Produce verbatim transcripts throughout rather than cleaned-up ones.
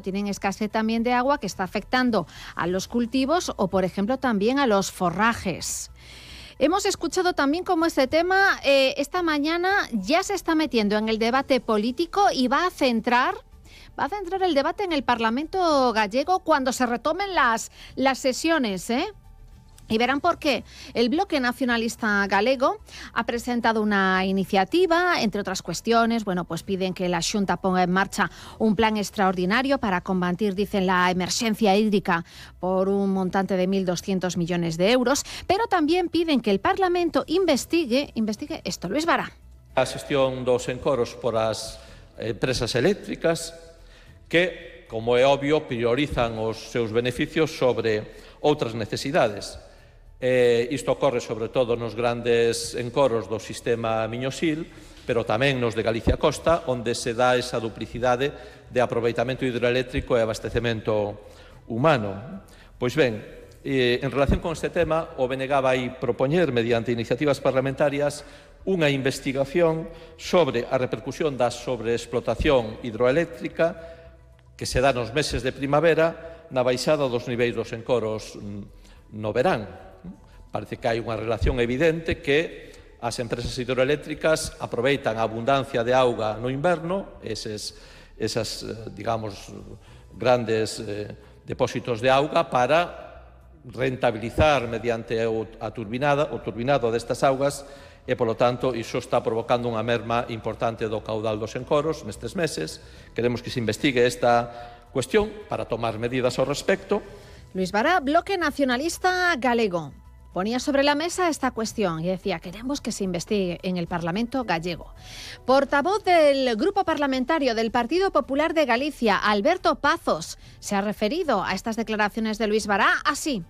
Tienen escasez también de agua que está afectando a los cultivos o, por ejemplo, también a los forrajes. Hemos escuchado también cómo este tema eh, esta mañana ya se está metiendo en el debate político y va a centrar, va a centrar el debate en el Parlamento gallego cuando se retomen las, las sesiones, ¿eh? Y verán por qué. El Bloque Nacionalista Galego ha presentado una iniciativa, entre otras cuestiones, bueno, pues piden que la Xunta ponga en marcha un plan extraordinario para combatir, dicen, la emergencia hídrica por un montante de mil doscientos millones de euros, pero también piden que el Parlamento investigue, investigue esto. Luis Vara. A xestión dos encoros por as empresas eléctricas que, como é obvio, priorizan os seus beneficios sobre outras necesidades. Eh, isto ocorre sobre todo nos grandes encoros do sistema Miñosil, pero tamén nos de Galicia Costa, onde se dá esa duplicidade de aproveitamento hidroeléctrico e abastecemento humano. Pois ben, eh, en relación con este tema, o B N G vai propoñer, mediante iniciativas parlamentarias, unha investigación sobre a repercusión da sobreexplotación hidroeléctrica que se dá nos meses de primavera na baixada dos niveis dos encoros no verán. Parece que hai unha relación evidente que as empresas hidroeléctricas aproveitan a abundancia de auga no inverno, eses, esas, digamos, grandes eh, depósitos de auga para rentabilizar mediante a turbinada, o turbinado destas augas e, polo tanto, iso está provocando unha merma importante do caudal dos encoros nestes meses. Queremos que se investigue esta cuestión para tomar medidas ao respecto. Luis Vara, Bloque Nacionalista Galego, ponía sobre la mesa esta cuestión y decía: queremos que se investigue en el Parlamento gallego. Portavoz del Grupo Parlamentario del Partido Popular de Galicia, Alberto Pazos, se ha referido a estas declaraciones de Luis Vara así.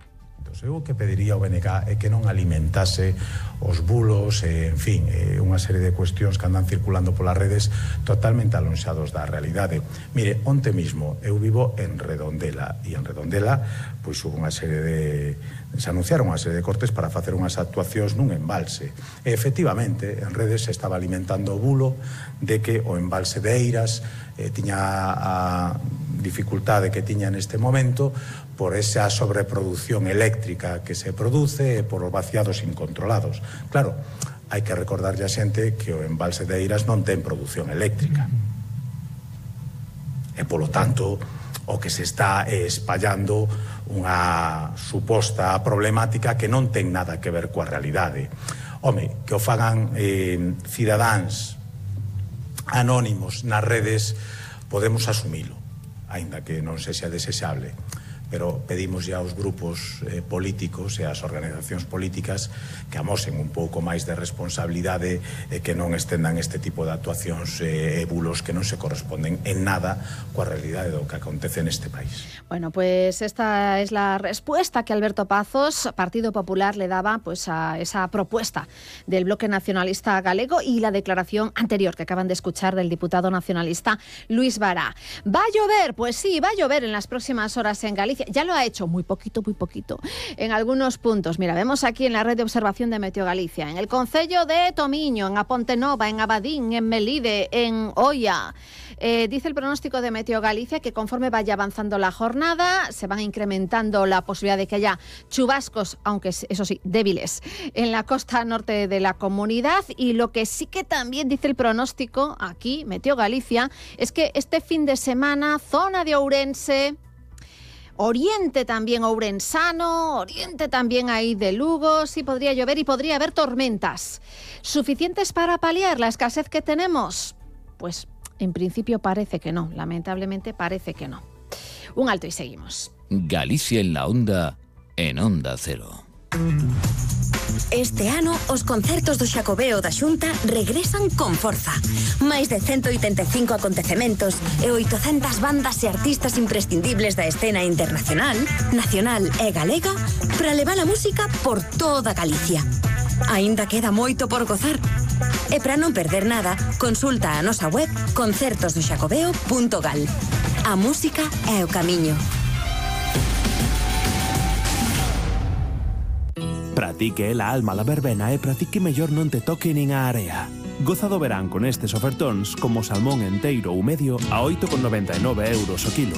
Eu o que pediría ao B N G é que non alimentase os bulos, e, en fin, eh, unha serie de cuestións que andan circulando polas redes totalmente alonxados da realidade. Mire, onte mismo eu vivo en Redondela e en Redondela pois hubo unha serie de se anunciaron unha serie de cortes para facer unhas actuacións nun embalse. E, efectivamente, en redes se estaba alimentando o bulo de que o embalse de Eiras eh, tiña a dificultade que tiña neste momento por esa sobreproducción eléctrica que se produce e por os vaciados incontrolados. Claro, hai que recordarlle a xente que o embalse de Eiras non ten produción eléctrica. E, polo tanto, o que se está espallando unha suposta problemática que non ten nada que ver coa realidade. Home, que o fagan eh, cidadáns anónimos nas redes, podemos asumilo, aínda que non sexa desexable. Pero pedimos ya aos grupos eh, políticos e ás organizacións políticas que amosen un pouco máis de responsabilidade e que non estendan este tipo de actuacións e eh, bulos que non se corresponden en nada coa realidade do que acontece neste país. Bueno, pues esta es la respuesta que Alberto Pazos, Partido Popular, le daba pues a esa propuesta del Bloque Nacionalista Galego y la declaración anterior que acaban de escuchar del diputado nacionalista Luis Vara. ¿Va a llover? Pues sí, va a llover en las próximas horas en Galicia. Ya lo ha hecho, muy poquito, muy poquito, en algunos puntos. Mira, vemos aquí en la red de observación de Meteo Galicia, en el concello de Tomiño, en A Pontenova, en Abadín, en Melide, en Oia. Eh, dice el pronóstico de Meteo Galicia que conforme vaya avanzando la jornada se van incrementando la posibilidad de que haya chubascos, aunque eso sí, débiles, en la costa norte de la comunidad. Y lo que sí que también dice el pronóstico aquí, Meteo Galicia, es que este fin de semana, zona de Ourense, Oriente también ourensano, Oriente también ahí de Lugo, sí podría llover y podría haber tormentas. ¿Suficientes para paliar la escasez que tenemos? Pues en principio parece que no, lamentablemente parece que no. Un alto y seguimos. Galicia en la onda, en Onda Cero. Este ano, os concertos do Xacobeo da Xunta regresan con forza. Máis de ciento oitenta e cinco acontecementos e oitocentas bandas e artistas imprescindibles da escena internacional, nacional e galega para levar a música por toda Galicia. Aínda queda moito por gozar. E para non perder nada, consulta a nosa web concertos do xacobeo punto gal. A música é o camiño. Pratique la alma la verbena e pratique mellor non te toque nin a area. Goza do verán con estes ofertóns como salmón enteiro ou medio a oito con noventa e nove euros o kilo.